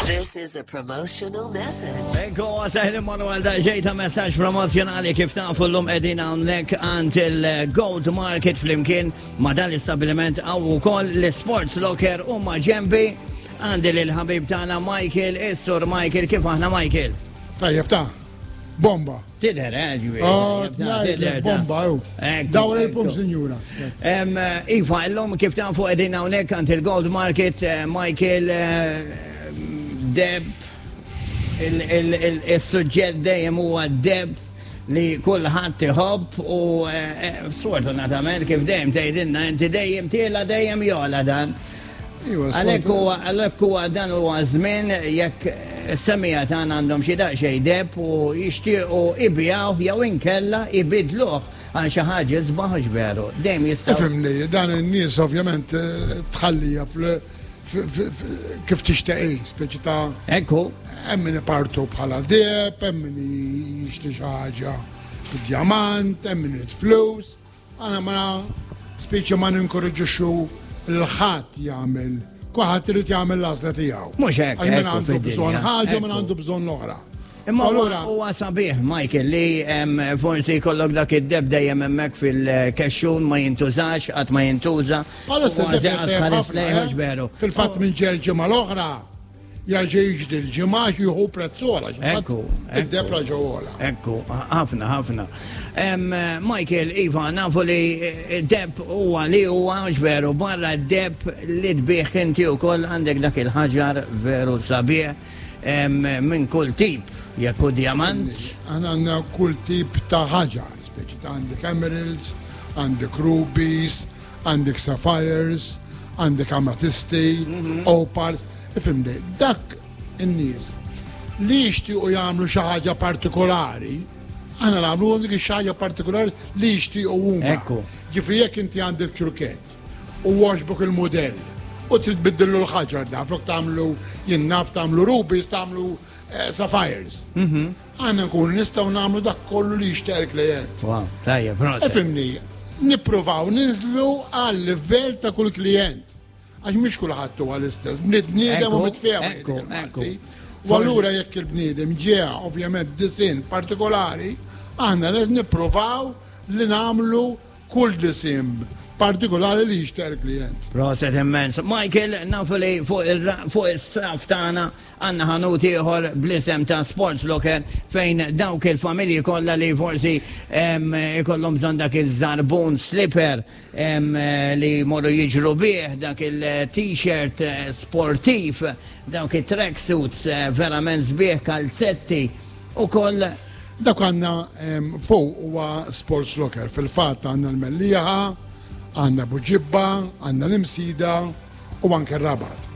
This is a promotional message. Ekku, għasajl Manuel da ġejta messaġġ promozjonali kif tafu l-lum edin għamlek għand il-Gold Market flimkien ma dan l-istabiliment għaw ukoll l-Sports Locker u ma ġembi għandi l-ħabib tagħna Michael, is-sur Michael, kif aħna Michael? Tajjeb ta' bomba. Tidher, eh, ġifieri. Oh, tidher, bomba, ju. Dawr il-pum, sinjura. Eh, iva, illum kif tafu qegħdin hawnhekk għand il-Gold Market, eh, Michael eh, Deb, il-suġġett dejjem huwa deb li kulħadd iħobb u sfortunatament kif dejjem tgħidilna inti dejjem tiela dejjem jola dan. Iva, Għalhekk huwa għalhekk huwa dan huwa żmien jekk semija tagħna għandhom xi daqsxejn deb u jixtiequ ibigħuh jew inkella ibidluh għal xi ħaġa isbaħ hux veru. Dejjem jistgħu. Ifhimni, dan in-nies ovvjament eh, tħallija kif tixtieq hi, speċi ta' Ekku. Hemm min ipartu bħala deb, hemm min jixtri xi ħaġa bid-djamant, hemm min irid flus. Aħna ma spiċċa ma ninkoraġġixxu lil ħadd jagħmel kulħadd irid jagħmel l-għażla tiegħu. Mhux hekk. Għax min għandu bżonn ħaġa min għandu bżonn l-oħra. Imma huwa sabiħ, Michael, li forsi jkollok dak id-deb dejjem hemmhekk fil-kexxun ma jintużax, qatt ma jintuża. Eh? Fil-fatt minn ġerġi mal-oħra, Jerġa' jiġri l-ġimgħa għax jieħu prezz ogħla. Ekku. Id-deb raġa' ogħla. Ekku, ħafna, ħafna. Michael, Iva, nafu li eh, deb huwa li huwa veru barra deb li tbieħ inti wkoll għandek dak il-ħaġar veru sabiħ minn kull tip, jekk hu diamant. Aħna għandna kull tip ta' ħaġar, speċi ta' għandek emeralds, għandek rubies, għandek sapphires, għandek amatisti, mhm. opals, ifimni, dak in-nies li jixtiequ jagħmlu xi ħaġa partikolari, aħna nagħmlu dik xi ħaġa partikolari li jixtiequ huma. Ekku. Ġifri jekk inti għandek ċurkett u għoġbok il-modell u trid tbiddillu l-ħaġar da, flok tagħmlu jien naf tagħmlu rubies, tagħmlu eh, sapphires. Mhm. Aħna nkunu nistgħu nagħmlu dak kollu li jixtieq il-klijent. Wow, tajjeb, proset. Ifhimni, nippruvaw ninżlu għal livell ta' kull klijent. Għax mhux kulħadd huwa l-istess, bniedem u mitfehem. Ekku, ekku. U allura jekk il-bniedem ġeha ovvjament disinn partikolari, aħna nippruvaw li nagħmlu kull disinn partikolari li jixtieq il-klijent. Proset immens. Michael, nafu li fuq is-saf tagħna għandna ħanut ieħor bl-isem ta' Sports Locker fejn dawk il-familji kollha li forsi ikollhom bżonn dak iż-żarbun slipper li jmorru jiġru bih, dak il-t-shirt eh, sportiv, dawk it-tracksuits eh, verament sbieħ kalzetti u koll Dak għandna fuq huwa Sports Locker. Fil-fatt għandna l-Mellieħa, għandna Buġibba, għandna l-Imsida u anke r-Rabat.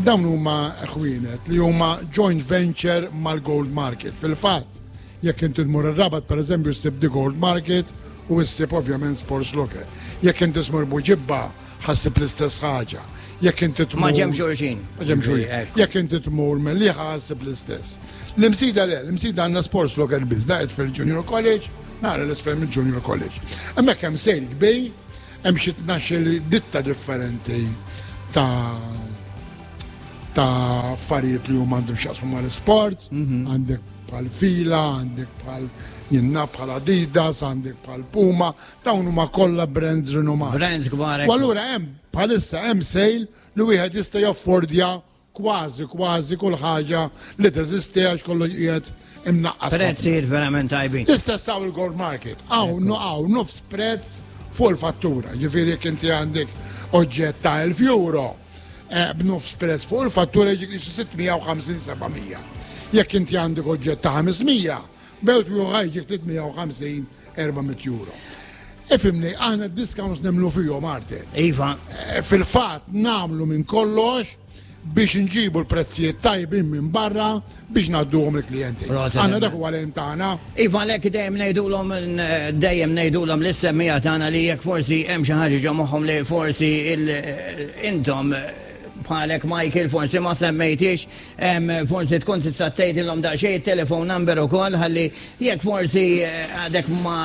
Dawn huma ħwienet li huma joint venture mal-Gold Market. Fil-fatt, jekk inti tmur ir-Rabat pereżempju ssib The Gold Market u ssib ovvjament Sports Locker. Jekk inti tmur Buġibba ħa ssib l-istess ħaġa. Jekk inti tmur. Ma' ġenb xulxin. Ma' ġenb xulxin. Jekk inti tmur Mellieħa ħa ssib l-istess. L-Imsida le, l-Imsida għandna Sports Locker biss, da qed fil-Junior College, nara l-isfel mill-Junior College. Hemmhekk hemm sale kbir, hemm xi 12-il ditta differenti ta' ta' affarijiet li huma għandhom x'jaqsmu mal-sports, mhm. għandek bħal fila, għandek bħal jinna bħal Adidas, għandek bħal Puma, dawn huma kollha brands rinomati. Brands kbar. U allura hemm bħalissa hemm sale li wieħed jista' jaffordja Kważi, kważi kull ħaġa li teżisti għax kollox qiegħed imnaqqas. Prezzijiet verament tajbin. L-istess hawn il-gold market. Hawn hawn nofs prezz fuq il-fattura. Ġifieri jekk inti għandek oġġett ta' 1000 euro, eh, b'nofs prezz fuq il-fattura jiġi 650-700. Jekk inti għandek oġġett ta' 500, bewt juħa jiġi 350 400 euro. Ifimni, aħna discounts nemlu fihom Arthur. Iva. Eh, fil-fatt namlu minn kollox biex nġibu l-prezzijiet tajbin minn barra biex ngħadduhom il-klijenti. Għandna dak huwa l tagħna. Iva lek dejjem ngħidulhom dejjem ngħidulhom lis-semmija tagħna li jekk forsi hemm xi ħaġa ġo moħħhom li forsi intom. bħalek Michael forsi ma semmejtix, forsi tkun tista' tgħidilhom daqsxejn it-telephone number ukoll ħalli jekk forsi eh, għadek ma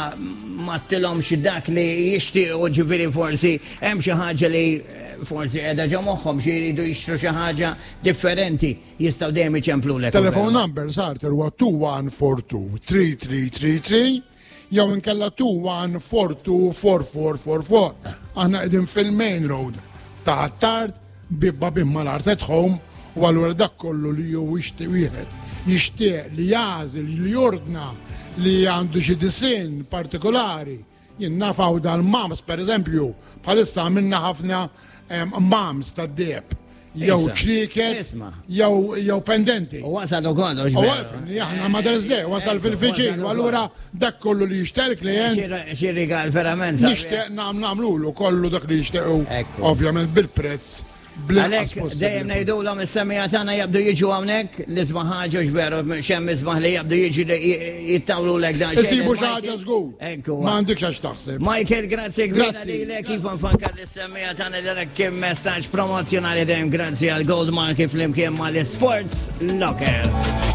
mattilhomx dak li jixtiequ ġifieri forsi hemm xi ħaġa li eh, forsi qiegħda ġo moħħhom xi jridu jixtru xi ħaġa differenti jistgħu dejjem iċemplulek. Telephone number Sarter huwa 2142 3333 jew inkella 21424444. Aħna qegħdin fil-main road ta' Attard bibba bimma l-art at home u allura dak kollu li hu jixtieq wieħed jixtieq li jagħżel li jordna li għandu xi disinn partikolari. Jien naf hawn dal-mams pereżempju, bħalissa għamilna ħafna mams tad-deheb jew ċrieket jew pendenti. U wasal ukoll. U aħna Mother's Day, wasal fil-fiċin, u allura dak kollu li jixtieq klient. Xi rigal verament. Nixtieq nagħmlulu kollu dak li jixtiequ, ovvjament bil-prezz. Għalhekk dejjem ngħidulhom is-semmiegħa tagħna jabdu jiġu hawnhekk l-isbaħ ħaġa veru xemm isbaħ li jabdu jiġu jittawlulek dan. Isibu xi ħaġa żgur. Ekku. Ma għandikx għax taħseb. Michael, grazzi kbira lilek iva nfakkar lis-semmiegħa tagħna li dak kien messaġġ promozzjonali dejjem grazzi għal Gold Mark flimkien mal-Sports Locker.